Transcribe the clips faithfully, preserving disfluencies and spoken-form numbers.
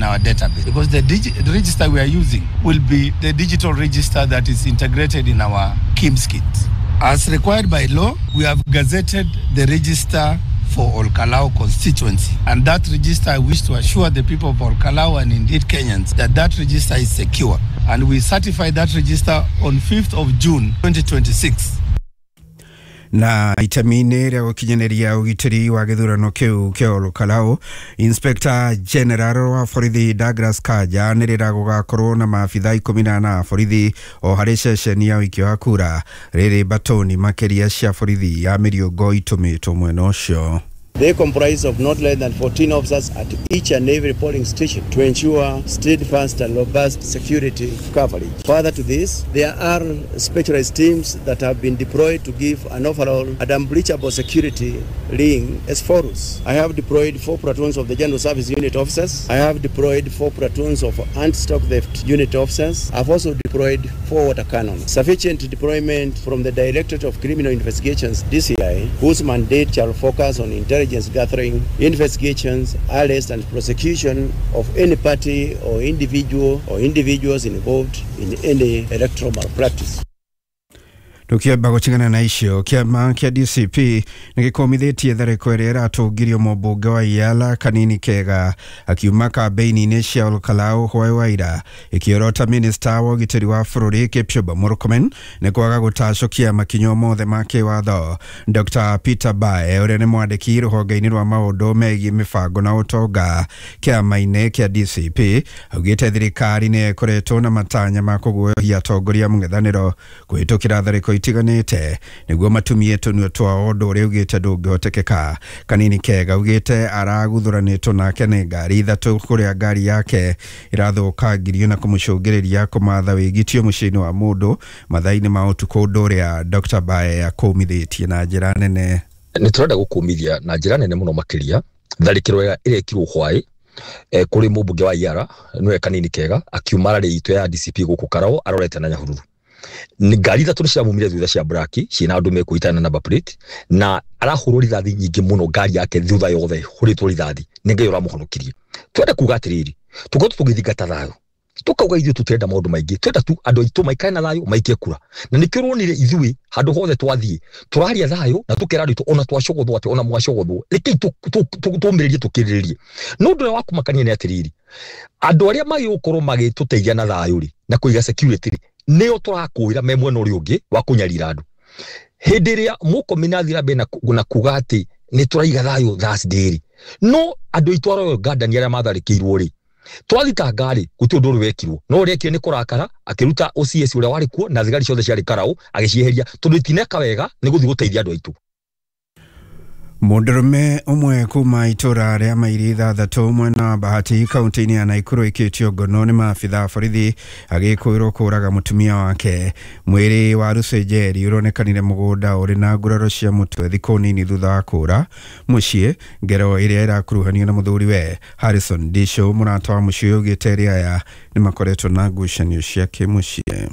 our database, because the, digi- the register we are using will be the digital register that is integrated in our KIEMS kit. As required by law, we have gazetted the register for Olkalou constituency. And that register, I wish to assure the people of Olkalou and indeed Kenyans that that register is secure. And we certify that register on fifth of June twenty twenty-six. Na itemi-inĩ rĩa gũkinyanĩria ũgitĩri wa gĩthurano kĩu kĩa Olkalou, Inspector General wa borithi Douglas Kanja nĩ rĩra gũgakorwo na maabitha ikũmi na ana a borithi o harĩ ceceni ya ũikia wa kura, rĩrĩ batoni makĩria cia borithi ya mĩriũngo itũmĩtwo mwena ũcio. They comprise of not less than fourteen officers at each and every polling station to ensure steadfast and robust security coverage. Further to this, there are specialized teams that have been deployed to give an overall and unbreachable security ring as follows. I have deployed four platoons of the General Service Unit officers. I have deployed four platoons of anti-stock theft unit officers. I've also deployed four water cannons. Sufficient deployment from the Directorate of Criminal Investigations, D C I, whose mandate shall focus on intelligence gathering, investigations, arrest and prosecution of any party or individual or individuals involved in any electoral malpractice. Tukiamba gũtigana na icio, kĩama kĩa D C P nĩ gĩkũmithĩtie tharĩko ĩrĩa ĩratũngirio mũmbunge wa Iala Kanini Kega akiuma kambĩini-inĩ cia Olkalou hwaĩ wa ira, ĩkĩorota minista wa ũgitĩri wa bũrũri Kipchumba Murkomen nĩ kwaga gũtacũkia makinya mothe ma kĩwatho. Dr Peter Bae, ũrĩa nĩ mwandĩki rũhonge-inĩ rwa maũndũ megiĩ mĩbango na ũtonga kĩama-inĩ kĩa D C P, augĩte thirikari nĩ ĩkoretwo na matanya ma kũguoyohia atongoria mũng'ethanĩro kũhĩtũkĩra tharĩko itiganĩte nĩguo matumie tũnua twao, ũndũ ũrĩa augĩte ndũngĩhotekeka. Kanini Kega augĩte araguthuranĩtwo nake nĩ ngari ithatũ, kũrĩa ngari yake ĩrathũkangirio na kũmũcũngĩrĩria kũmatha wĩgitio mũciĩ-inĩ wa mũndũ mathaa-inĩ ma ũtukũ, ũndũ ũrĩa Dr Bae akũmithĩtie na njĩra nene. Nĩ tũrenda gũkũmithia na njĩra nene mũno makĩria tharĩkĩro ĩrĩa ĩrekirwo hwaĩ eh, kũrĩ mũmbunge wa Iara, nĩwe Kanini Kega, akiuma rally itũ ya D C P gũkũ Karao arorete na Nyahururu. Nĩ ngari ithatũ nĩ ciramumire thutha cia black ciĩna andũ mekũitana na number plate, na arahũrwo rithathi nyingĩ mũno, ngari yake thutha yothe hũrĩtwo rithathi, nĩ Ngai ũramũhonokirie. Twende kuga atĩrĩrĩ, tũkoretwo tũgĩthingata thayũ, tukauga ithuĩ tũtirenda maũndũ maingĩ, twenda tu andũ aitũ maikare na thayũ, maikie kura, na nĩkĩo ũronire ithuĩ handũ hothe twathiĩ tũraria thayũ na tũkera andũ aitũ, ona twacogothwo atĩ ona mwacogothwo, rekei tũmĩrĩrie, tũkĩrĩrĩrie. No ũndũ ũrĩa wa kũmakania nĩ atĩrĩrĩ, andũ arĩa magĩ gũkorwo magĩtũteithia na thayũ rĩ na kũiga security rĩ, nĩo tũrakũĩra me mwena ũrĩa ũngĩ wa kũnyarira andũ. Hĩndĩ ĩrĩa Mũrkomen athiĩ na mbere na kuga atĩ nĩ tũraiga thayũ Thursday rĩ, no andũ aitũ a Royal Garden arĩa matharĩkĩirwo rĩ, twathitanga rĩ, gũtirĩ ũndũ ũrĩ wekirwo, no ũrĩa ekire nĩ kũrakara akĩruta O C S ũrĩa warĩ kuo na thigari ciothe ciarĩ Karau agĩcieheria, tondũ itineka wega nĩ gũthiĩ gũteithia andũ aitũ. Mũndũrũme ũmwe kuma itũra rĩa mairi ithathatũ mwena wa Bahati kaunti-inĩ ya Naikuru ĩkĩtio ngono nĩ maabitha a borithi agĩkũĩrwo kũraga mũtumia wake. Mwĩrĩ wa Lucy Njeri ũronekanire mũgũnda ũrĩ na nguraro cia mũtwe thikũ nini thutha wa kũra mũciĩ, ngero ĩrĩa ĩrakuruhanio na mũthuriwe Harrison Disho. Mũrata wa mũciĩ ũyũ augĩte erĩ aya nĩ makoretwo na ngucanio cia kĩmũciĩ.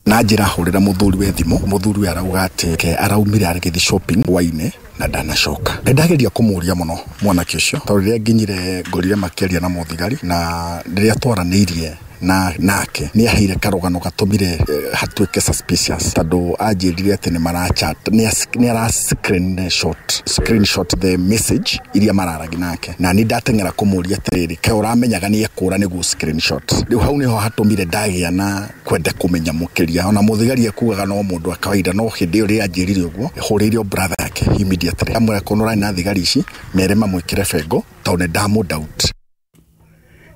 Na njĩra hũrĩra mũthuri we thimũ, mũthuri we arauga atĩ ke araumire agĩthiĩ shopping hwainĩ na ndanacoka. Nĩ ndageria kũmũria mũno mwanake ũcio, tondũ rĩrĩa nginyire ngorire makĩaria na mũthigari, na rĩrĩa twaranĩirie na nake nĩ aheire karũgano gatũmire eh, hatuĩke suspicious, tondũ anjĩrire atĩ nĩ marachat, nĩ ara screenshot screenshot the message iria mararagi nake, na nĩ ndateng'era kũmũria atĩrĩrĩ, ke ũramenyaga nĩ ekũra nĩguo screenshot. Rĩu hau nĩho hatũmire ndagĩa na kwenda kũmenya mũkĩria. Ona mũthigari ekugaga no mũndũ wa kawaida, no hĩndĩ ĩyo rĩrĩa anjĩrire ũguo, hũrĩire brother yake immediately, amwĩra korwo ũrarĩ na thigari ici, mere mamwĩkĩre bengo, tondũ nĩ ndamũ doubt.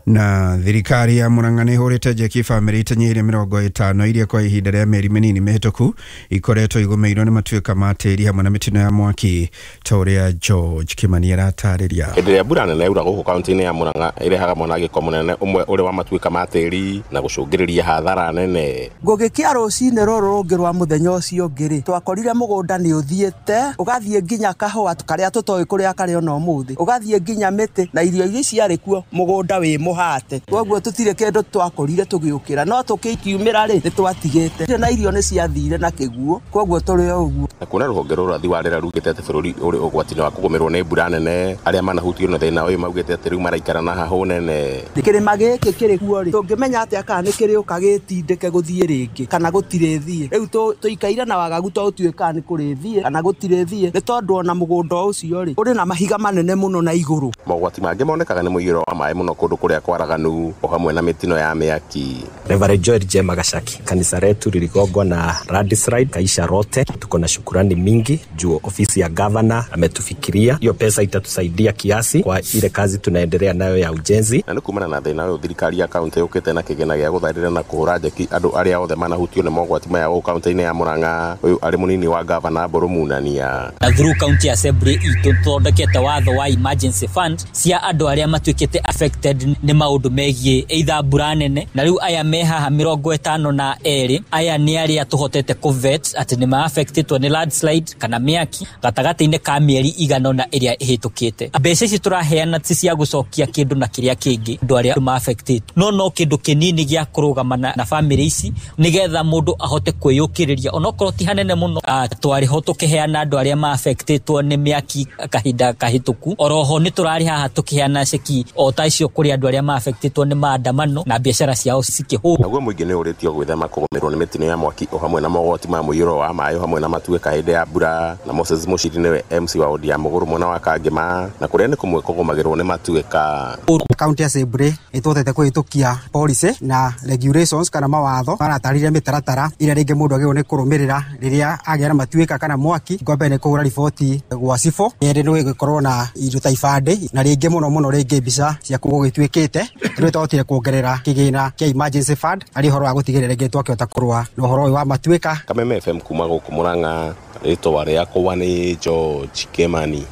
Na thirikari ya Murang'a nĩ ĩhũrĩte njeki bamĩrĩ itenyĩire mĩrongo ĩtano iria kwa ihinda rĩa mĩeri mĩnini mĩhĩtũku ikoretwo igũmĩirwo nĩ matuĩka ma tĩri hamwe na mĩtino ya mwaki, ta ũrĩa George Kimani aratarĩria. Hĩndĩ ĩrĩa mbura nene yaura gũkũ kaunti-inĩ ya Murang'a, ĩrehaga mwanangĩko mũnene, ũmwe ũrĩ wa matuĩka ma tĩri na gũcũngĩrĩria hathara nene. Ngũgĩkia rũcinĩ rũrũ rũngĩ rwa mũthenya ũcio ũngĩ rĩ, twakorire mũgũnda nĩ ũthiĩte ũgathiĩ nginya kahũa karĩa tũtoĩ kũrĩa karĩ ona ũmũthĩ, ũgathiĩ nginya mĩtĩ na irio iria ciarĩ kuo, mũgũnda wĩ mũhoro. mũhate. Koguo tũtirĩ kĩndũ twakorire tũgĩũkĩra no tũkĩkiumĩra rĩ nĩ twatigĩte na irio nĩ ciathire na kĩguo koguo tũrĩ o ũguo. Na kuona rũhonge rwa ũrathi wa rĩera rugĩte atĩ bũrũri ũrĩ ũgwati-inĩ wa kũgũmĩrwo nĩ mbura nene, arĩa manahutio nĩ thĩna ũyũ maugĩte atĩ rĩu maraikara na hahũ nene. Kĩrĩma gĩkĩ kĩrĩ kuo rĩ tũngĩmenya atĩa kana nĩ kĩrĩũka gĩtindĩke gũthiĩ rĩngĩ kana gũtirĩ thiĩ. Rĩu tũikaire na wagagu to ũtuĩka nĩ kũrĩ thiĩ kana gũtirĩ thiĩ nĩ tondũ ona mũgũnda ũcio rĩ ũrĩ na mahiga manene mũno na igũrũ. Mogwati mangĩ monekaga nĩ mũiyũro wa maĩ mũno kũndũ kũrĩa kwaraganu o hamwe na mĩtino ya mĩaki. Reverend Joel J. Magashaki, kanisa letu liligongwa na landslide kaisha rote. Tuko na shukurani mingi juu ofisi ya governor ametufikiria. Hiyo pesa itatusaidia kiasi kwa ile kazi tunaendelea nayo ya ujenzi. Na kumana na thĩna ũyũ thirikari ya kaunti yũkĩte na kĩgĩna gĩa gũtharĩra na kũhũra njeki andũ arĩa othe manahutio nĩ mogwati maya gũkũ kaunti-inĩ ya Murang'a. Ũyũ arĩ mũnini wa governor Mbũrũ Munania. Na through county assembly itũ thondekete watho wa emergency fund cia andũ arĩa matuĩkĩte affected nĩ maũndũ megiĩ either mbura nene, na rĩu aya me haha mĩrongo ĩtano na erĩ aya nĩ arĩa tũhotete kũvet atĩ nĩ ma-affectĩtwo nĩ landslide kana mĩaki gatagatĩ-inĩ ka mĩeri igana na ĩrĩa ĩhĩtũkĩte. Mbeca ici tũraheana ti cia gũcokia kĩndũ na kĩrĩa kĩngĩ andũ arĩa ma-affectĩtwo, no no kĩndũ kĩnini gĩa kũrũgama na, na family ici nĩgetha mũndũ ahote kwĩyũkĩrĩria onokorwo ti hanene mũno. Twarĩ ho tũkĩheana andũ arĩa ma-affectĩtwo nĩ mĩaki kahinda kahĩtũku, oroho nĩ tũrarĩ haha tũkĩheana ceki o ta icio kũrĩ andũ arĩa ma-affectĩtwo nĩ maandamano na biacara ciao cikĩhũrwo. Naguo mũingĩ nĩ ũrĩtio gwĩthema kũgũmĩrwo nĩ mĩtino ya mwaki o hamwe na mogwati ma mũiyũro wa maĩ o hamwe na matuĩka hĩndĩ ya mbura. Na Moses Mushiri nĩwe M C wa wodi ya Mũgũrũ mwena wa Kangema, na kũrĩa nĩ kũmwe kũgũmagĩrwo nĩ matuĩka. County Assembly ĩtũhotete kũhĩtũkia policy na regulations kana mawatho maratarĩria mĩtaratara ĩrĩa rĩngĩ mũndũ agĩrĩirwo nĩ kũrũmĩrĩra rĩrĩa agĩa na matuĩka kana mwaki. Ngombe nĩ kũhũra riboti gwa cibũ, kerĩ nĩ gũkorwo na indo ta ibandĩ, na rĩngĩ mũno mũno rĩngĩ mbica cia kũu gũgĩtuĩkĩte. Rĩu twahotire kuongerera kĩgĩna kĩa emergency fund arĩ ũhoro wa gũtigĩrĩra rĩngĩ twakĩhota kũrũa na ũhoro ũyũ wa matuĩka. Kameme F M kuma gũkũ Murang'a, rĩtwa rĩakwa nĩ George Kimani.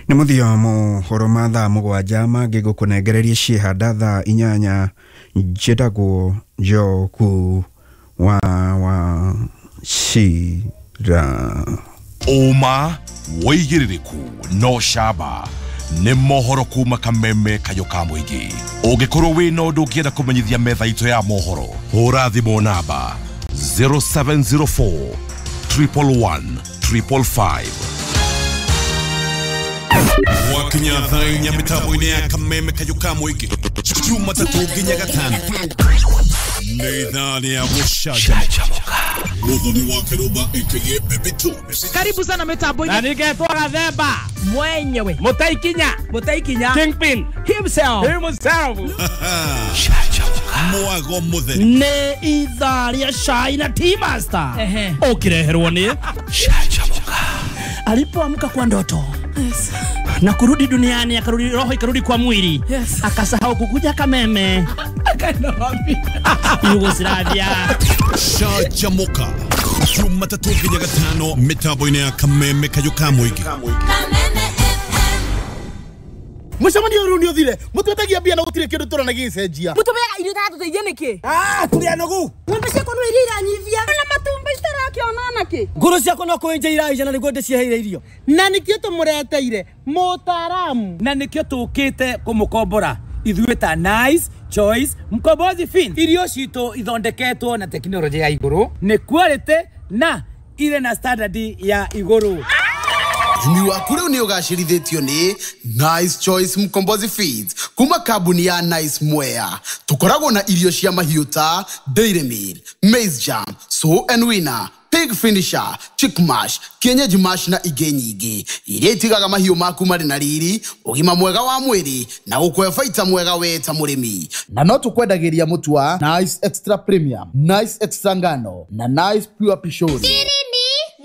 Nĩ mũthia mohoro ma thaa mũgwanja mangĩ ngũkũnengereria ciĩhanda thaa inyanya. Njĩtagwo Njoku wa wa Cira. Ũma wĩigĩrĩrĩku no camba nĩ mohoro kuma Kameme kayũ ka mũingĩ. Ũngĩkorwo wĩna ũndũ ũngĩenda kũmenyithia metha itũ ya mohoro, hũra thimũ namba zero seven zero four triple one triple five. Wakinya thaa inya mĩtambo-inĩ ya Kameme kayũ ka mũingĩ Jumatatũ nginya Gatano nĩ ithaa rĩa gũcanjamũka. Muthoni wa Kĩrũmba aka Baby Two. Karibu sana mitambo-inĩ. Na ningetwo Gathemba mwenyewe, Mũtaikinya, Mũtaikinya Kingpin himself, himself. Mwago mũtheri nĩ ithaa rĩa cai na Tea Master ũkĩreherwo nĩ Canjamũka. Alipoamka kwa ndoto, yes, na kurudi duniani, akarudi roho ikarudi kwa mwili, yes, akasahau kukuja Kameme akaenda wapi? Yugoslavia. Canjamũka Jumatatũ nginya Gatano mĩtambo-inĩ ya Kameme kayũ ka mũingĩ. Mũcemanio ũyũ nĩ ũthire mũtwetagia mbia na gũtirĩ kĩndũ tũrona gĩgĩcenjia. Mũtũmeaga irio itatũteithia nĩkĩ? Ah, tũrĩ anogu. Ng'ombe ciakwa no iria iranyivia na matumbĩ citarakĩona nakĩ. Ngũrũ ciakwa no kũenja iraija na nĩguo ndĩciheire irio. Na nĩkĩo tũmũreteire mũtaaramu. Na nĩkĩo tũkĩte kũmũkombora ithuĩ ta Nice Choice Mkombozi Fin. Irio citũ ithondeketwo na tekinoronjĩ ya igũrũ, nĩ quality na irĩ na standard ya igũrũ. Ũrĩmi waku rĩu nĩ ũgacĩrithĩtio nĩ Nice Choice Mkombozi Feeds kuma kambuni ya Nice Mwea. Tũkoragwo na irio cia mahiũ ta Dairy Meal, Maize Jam, Sow and Winner, Pig Finisher, Chick Mash, Kienyeji Mash na ingĩ nyingĩ iria itigaga mahiũ maku marĩ na riri, ũgima mwega wa mwĩrĩ na gũkũhe baita mwega we ta mũrĩmi. Na no tũkwendagĩria mũtu wa Nice Extra Premium, Nice Extra Ngano na Nice Pure Pishori.